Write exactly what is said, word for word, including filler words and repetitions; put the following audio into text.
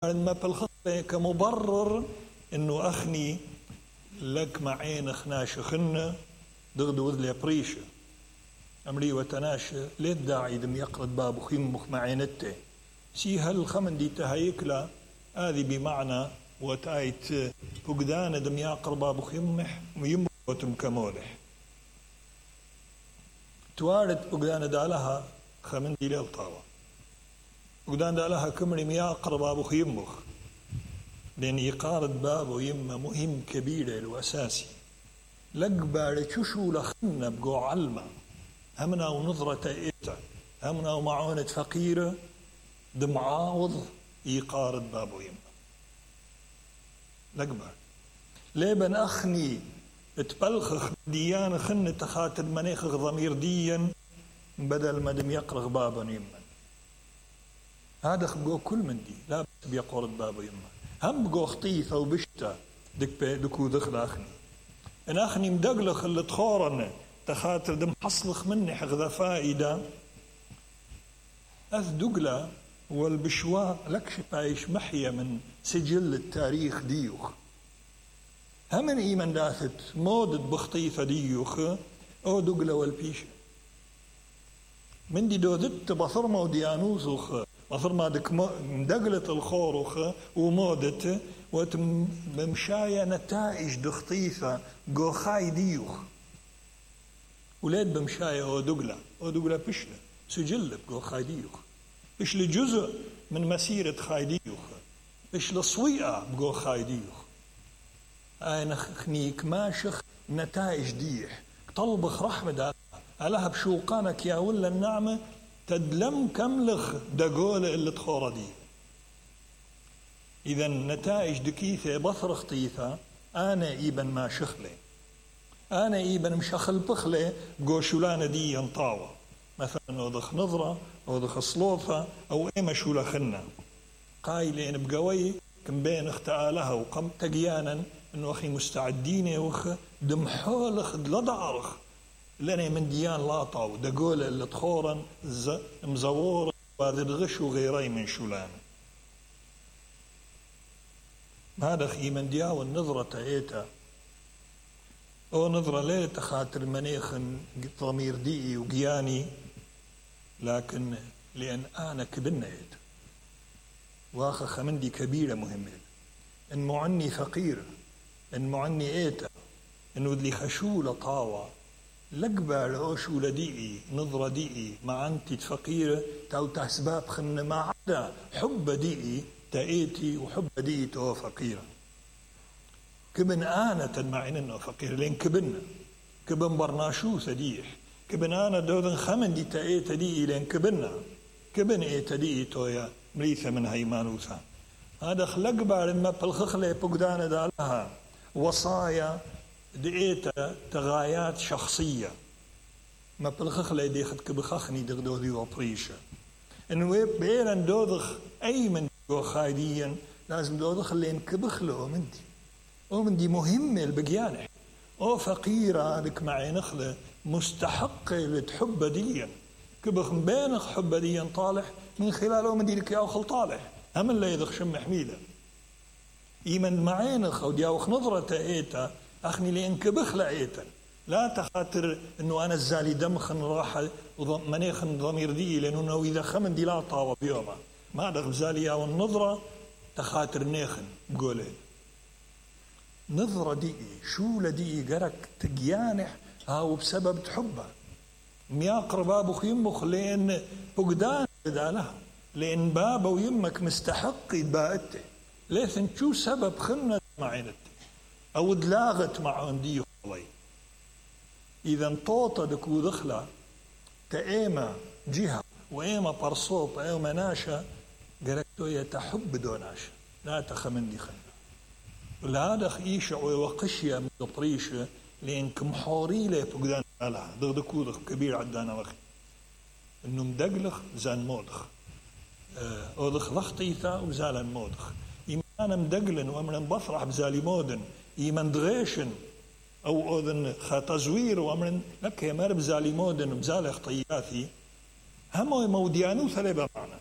ما بالخطة كمبرر إنه أخني لك معين خناش خنة دغدو وذلي بريشة أمري وتناشى ليه الداعي دم يقرد باب خيمخ معينته سي هل خمن دي تهيكلا هذه بمعنى وتايت فقدان دم يقرب باب خيمح ويموتم كمولح توارد فقدان دالها خمن دي للطاوة فقدان دالها كمري مياقرب باب خيمخ لأن يقارد بابه يما مهم كبير وأساسي لقبار تشو لخنا بقو علمة همنا ونظرة إيتا همنا ومعونة فقيرة دمعاوض يقارد بابه يما لقبار ليبن أخني تبلخخ ديان خن تخاطر منيخخ ضمير ديا بدل ما دم يقرغ بابا يما هذا خبقو كل من دي لا بيقارد بابه يما هم بقو خطيفة وبشتا دك دكو دخل أخني إن أخني مدقلخ اللي تخورن تخاطر دم حصلخ مني حغذا فائدة أذ دقلة والبشواء لكش بايش محية من سجل التاريخ ديوخ همن إيمان داثت مودت بخطيفة ديوخ أو دقلة والبيشة من دي دودت بثرمة وديانوسوخ بثرمة دك مدقلة الخوروخ ومودت وتمشايا نتائج دخطيفة قوخاي ديوخ ولاد بمشايا أو دقلة أو دقلة بشلة سجل بقوخاي ديوخ بشلة جزء من مسيرة خاي ديوخ بشلة صويئة بقوخاي ديوخ أنا خنيك ماشخ نتائج ديح طلبخ رحمة علىها بشوقانك يا ولا النعمة تدلم كملخ دقولة اللي تخورة دي إذا نتائج دكيثة بثر خطيثة أنا إيبن ما شخلي أنا إيبن مشخل بخلي بقوشولانة دي ينطاوة مثلا وضخ نظرة وضخ صلوفة أو إيما شولا خنا قايلين بقوي كم بين اختآلها وقم تقيانا إنه أخي مستعدين يوخ دمحولخ دلدعرخ لأني من ديان لاطاو دقولة اللي تخورا مزور وهذا الغش وغيري من شولان هذا خي من دياو النظرة تأيتا أو نظرة ليه تخاطر منيخ ضمير ديئي وقياني لكن لأن أنا كبنا إيتا واخا خمندي كبيرة مهمة إن معني فقير إن معني إيتا إنه ذلي خشولة طاوة لقبال عوشولة ديئي نظرة ديئي مع أنت فقيرة تاو تحسباب خن ما عدا حب ديئي تأيتي وحب ديئي تو فقيرة كبن آنة معين إنه فقير لين كبن كبن برناشو سديح كبن آنة دودن خمن دي تأيت ديئي لين كبننا كبن إيت ديئي تويا مريثة من هيمانوثا هذا خلق بارما بالخخلة بقدانة دالها وصايا دئيتا تغايات شخصية ما بالخخلة ديخت كبخخني دغدو دي وبريشة انه بيران دودخ اي من دو خايديا لازم دودخ اللي انكبخله من دي او من دي مهمة البقيانة او فقيرة لك معي نخلة مستحقة لتحب ديا كبخ مبينخ حب ديا طالح من خلاله من دي لك ياوخل طالح هم اللي يدخ شم حميدة ايمن معينخ او دياوخ نظرة ايتا أخني لين كبخ لعيتا لا تخاطر إنه أنا الزالي دمخن راح منيخن ضمير دي لأنه إذا خمن دي لا طاوة بيوما ما دخل زالي أو النظرة تخاطر نيخن بقوله نظرة دي شو لدي قرك تجيانح هاو بسبب تحبه مياقر بابو خيمخ لين فقدان بدالها لين بابا ويمك مستحق يباءته ليثن شو سبب خلنا معينته أو دلاغت مع عندي خلي إذا طوطة دكو دخلة تأيما جهة وإيما برصوط إيما ناشا قرأتو يتحب دوناشا لا تخمن دي خلنا ولهذا خيشة وقشية من طريشة لأنك محوري لي فقدان لها دكو دخ كبير عدانا وخي إنه مدقلخ زان مودخ أو دخ لخطيثة وزالان مودخ إيمانا مدقلن وأمنا بفرح بزالي مودن إيمان دغيشن أو أذن خاتزوير وأمرن لك يا مرب زالي مودن بزالي خطياتي هم موديانو ثلاثة معنا